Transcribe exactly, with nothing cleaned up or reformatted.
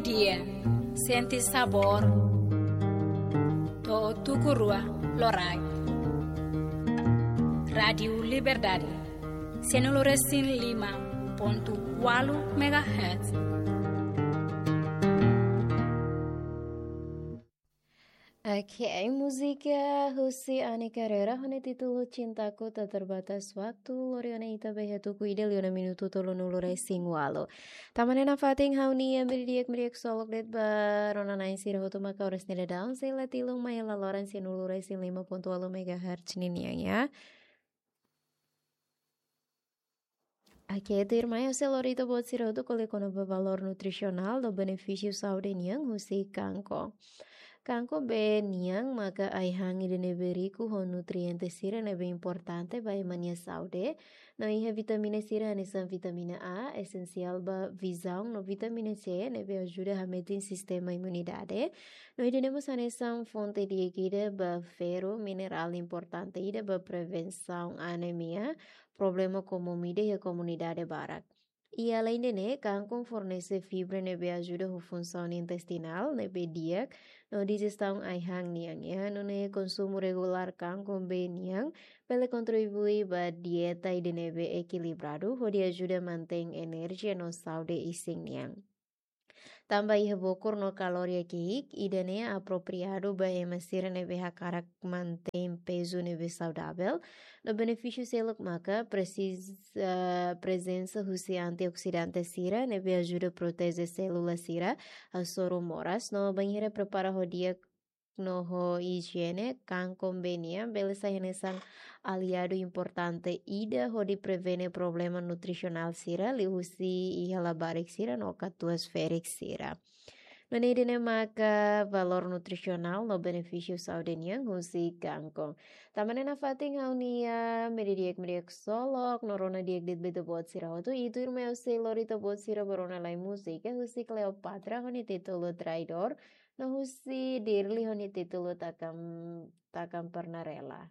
Dia, sente sabór. To'o tuku rua loraik. Rádiu Liberdade, sianulu resin lima pontu ualu megahertz. Ok, múzika husi Ani Carreira, ho nia títulu Cintaku Tak Terbatas Waktu, lori ona ita ba iha tuku ida liu ona minutu tolunulu resin ualu. Tanba ne'e nafatin ha'u-nia meiudia di'ak, meiudia ksolok de'it ba rona-na'in sira hotu maka oras ne'e daudaun sei la tilun mai iha laloran sianulu resin lima pontu ualu megahertz ninian, ya. Ok, tuirmai ha'u sei lori ita-boot sira hotu ko'alia kona-ba valór nutrisionál no benefísiu saúde nian husi kangkon. Kangkon bee nian maka ai-han ida ne'ebé riku ho nutriente sira ne'ebé importante ba ema nia saúde. No iha vitamina sira hanesan vitamina A, esensiál ba vizaun, no vitamina C ne'ebé ajuda hametin sistema imunidade. No ida-ne'e mós hanesan fonte di'ak ida ba ferru, minerál importante ida ba prevensaun anemia, problema komún ida iha komunidade barak. I aleinde ne'e, kangkon fornese fibra ne'ebé ajuda ho funsaun intestinál ne'ebé di'ak, no dijestaun ai-han nian, ya. Nune'e konsumu regulár kangkon bee nian bele kontribui ba dieta ida ne'ebé ekilibradu, hodi ajuda mantein enerjia no saúde isin nian. Tanba iha bokur no kalória ki'ik, ida-ne'e apropriadu ba ema sira ne'ebé hakarak mantein pezu ne'ebé saudavel. No benefísiu seluk maka presiza, prezensa husi antioksidante sira ne'ebé ajuda proteje sélula sira hasoru moras. No bainhira prepara ho di'ak no ho ijiene, kangkon bee nian bele sai hanesan aliadu importante ida hodi prevene problema nutrisionál sira liuhusi iha labarik sira no katuas ferik sira. Nune'e ida-ne'e maka valór nutrisionál no benefísiu saúde nian husi kangkon. Tanba ne'e nafatin ha'u-nia meiudia di'ak, meiudia ksolok, no rona di'ak de'it ba ita-boot sira hotu. I tuirmai ha'u sei lori ita-boot sira ba rona lai múzika husi Cleopatra ho nia títulu Traidór, no husi Dirli ho nia títulu Takam, Takam Pernah Rela.